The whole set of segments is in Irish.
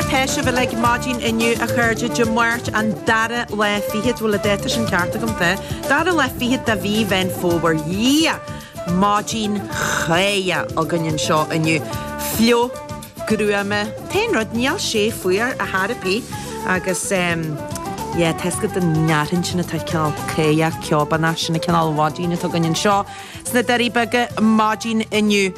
mar tá sibh uilig maidin inniu a chairde, Dé Máirt an dara lá fichead, bhfuil an dáta sin ceart agam, tá, dara lá fichead de mhí Mheán Fómhair, yeah! Maidin cháidheach againn anseo inniu. Fliuch, gruama, t-aon rud, níl sé fuar ar chor ar bith agus em yeah, tá 'fhios agat an fhearthainn sin atá cineál cáidheach, ceobánach, sin an cineál mhaidin atá againn anseo sna Doirí Beaga maidin inniu.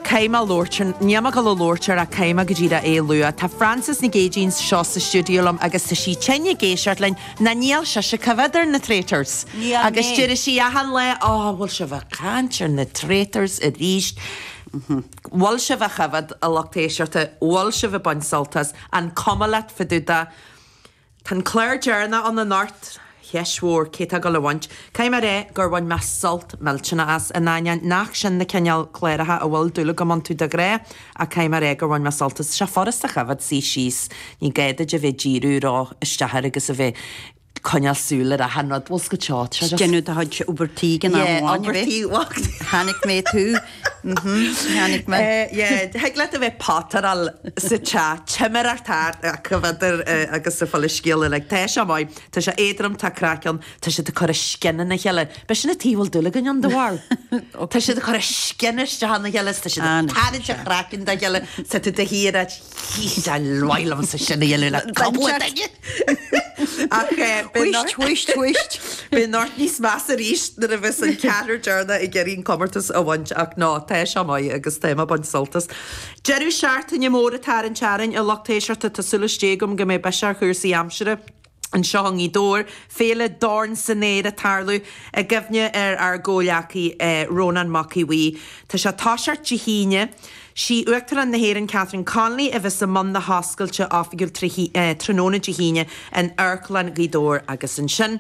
Caithfidh mé labhairt ar, níl mé ag dul a labhairt air ach caithfidh mé go díreach é a lua. Tá Frances Nic Aoidín anseo sa stiúideo liom agus tá sí tinn ag éisteacht linn, ná níl sise ag coimhéad ar na Traitors. Níl Agus mé. deir sí achan lá, Ó, bhfuil sibh ag caint ar na Traitors arís? Bhfuil sibh á choimhéad, a lucht éisteachta, bhfuil sibh ag baint sult as? An cuma leat fá dtaobh de? Tá an clár deireanach ann anocht, cheist mhór cé tá ag dul a bhaint. Caithfidh mé a rá gur bhain mé sult millteanach as, in ainneoin nach sin na cineál cláracha a bhfuil dúil agam iontu de ghnáth, ach caithfidh mé a rá gur bhain mé sult as. Tá sé furast a choimhéad, suí síos, ní gá duit a bheith ag díriú ró isteach air agus a bheith coinneáil súil ar achan rud. Bhfuil 's agat seo, tá sé just. Déanamh do chuid obair tí ag an am Yeah, amháin, obair a bheith. tí, bheacht. Chonaic mé tú. Mhm, chonaic mé. Yeah, thig leat a bheith potteráil sa teach, timireacht thart ach coimhéadar agus ag fáil an scéal uilig. Tá sé maith, tá sé éadrom, tá craic ann, tá siad ag cur a scian ina chéile. B'shin an taobh a bhfuil dúil againn ann de bharr. Tá siad ag cur a scian isteach ina chéile, tá siad ag tarraingt an chraicinn dá chéile, tá tú de shíor ag Tá maith liomsa sin a dhéanamh le cúpla duine. Ach Whisht, whisht, whisht. Beidh anocht níos measa arís nuair a bheas an ceathrar deireanach ag iarraidh an comórtas a bhaint ach ná, tá sé maith agus tá mé ag baint sult as. Deireadh seachtaine mór atá ar an tearrainn, a lucht éisteachta, tá súil istigh agam go mbeidh biseach ar chúrsaí aimsire. Anseo i nGaoth Dobhair, Féile Dorn san Aer ag tarlú i gcuimhne ar ár gcomhghleacaí Rónán Mac Aodha Bhuí. Tá sé ag toiseacht Dé hAoine. Sí Uachtarán na hÉireann Catherine Connolly a bheas i mbun na hoscailte oifigiúil tráthnóna Dé hAoine in Amharclann Ghaoth Dobhair agus ansin.